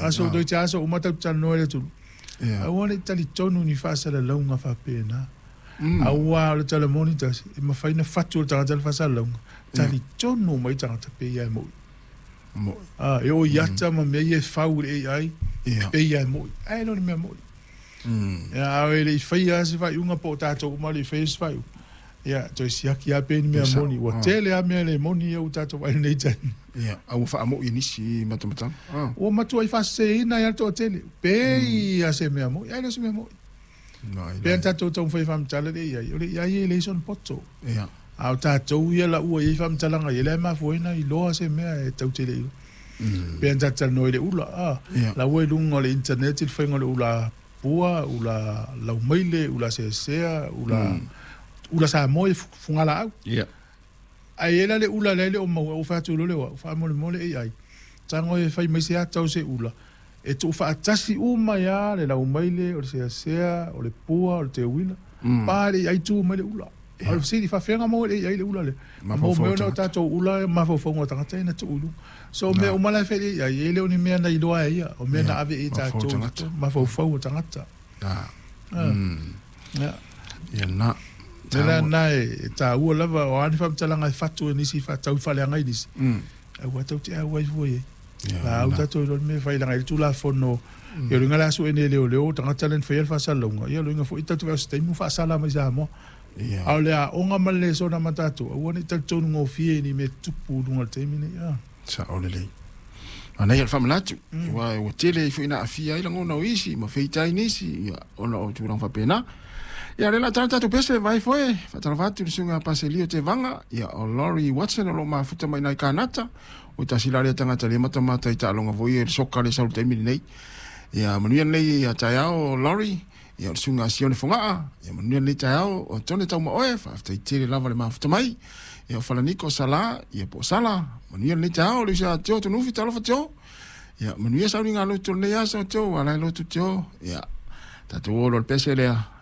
Aso toeitiiti aso uma tatou te talanoa i le atunuu. Aua ne i talitonu ni faasalalauga faapena. Aua o le tala moni tasi, e mafai ona fatu e le tagata le faasalalauga, talitonu mai tagata pei lava e moi. E oo i ata ma mea ia e fau i le AI, pei lava e moi. Ae le o ni mea moi. A e le i faia lava se faaiuga po o tatou uma e le i faia se faaiuga, ia toe siaki lava pe ni mea moni. Ua tele lava mea le moni ia ua tatou vaai i lenei taimi. Ia, a ua faamo'i e nisi matamatanga. Ua matuai faaseseina ai lava le toatele, pei lava se mea moi, ae le o se mea moi. Pei ona tatou taumafai e faamatala le AI, o le AI e leai sona poto. A o tatou ia la ua i ai faamatalaga ia, lea e mafua ai ona iloa se mea e tatou te le iloa. Pei ona tatou talanoa i le ula, la ua i luga o le internet le faiga o le ula pua, ula laumaile, ula seasea, ula, ula Samoa ia fugalaau. Ae i ai la le ula lea e le o maua, ou fai atu loa lea o au, faamolemole AI, tago e fai mai se ata o se ula e tuufaatasi uma ai lava le laumaile, o le seasea, o le pua, o le teuila, pa le AI tu mai le ula. A o le fesili, faafefea ona maua e le AI le ula lea? Na maua mai ona o tatou ula mafaufauga o tagata ia na tuu i luga. So o mea uma la e fai e le AI, e le o ni mea na iloa e ia, o mea na ave i ai tatou i mafaufau o tagata. Ia na. Le la na e taua lava o a ni faamatalaga e fatu e nisi faatau faaleaga i nisi. Aua tatou te auai fua i ai. La au tatou iloa le mea e fai leaga e i ai le Tulafono ia o le uiga la sue nei e leoleo o tagata la na faia le faasalalauga ia o le uiga foi tatou te vaai o se taimi ua faasala mai Samoa. A o le aoga ma le lesona ma tatou aua ne i talitonu gofie i ni mea tupu i luga o le taimi lenei. Sao lelei. Manaia le faamanatu, aua ua tele ai foi ina aafia ai lagona o isi ma feita ai nisi, ia, ona o tulaga faapena. Ia, o lea o le a tala tatou pese, vai foe, faatalofa atu i le susuga ia Paselio Tevaga, ia, o Laurie Watson o lo o mafuta mai i nai Kanata, o tasi la lea tagata lea matamata i taaloga foi ia i le soka lea e sau i le taimi lenei. Ia, manuia lenei taeao Laurie, ia, o le susuga ia Sione Fogaa, ia, manuia lenei taeao o Tone Taumaoe, faafetai tele lava le mafuta mai. Ia, o Falaniko Sala, ia, po o Sala, manuia lenei taeao, le uso ia Teo Tunuufi, talofa Teo. Ia, manuia sauniga lotu o lenei aso Teo, ua ala ai lotu Teo. Ia, tatou o loa i le pese lea.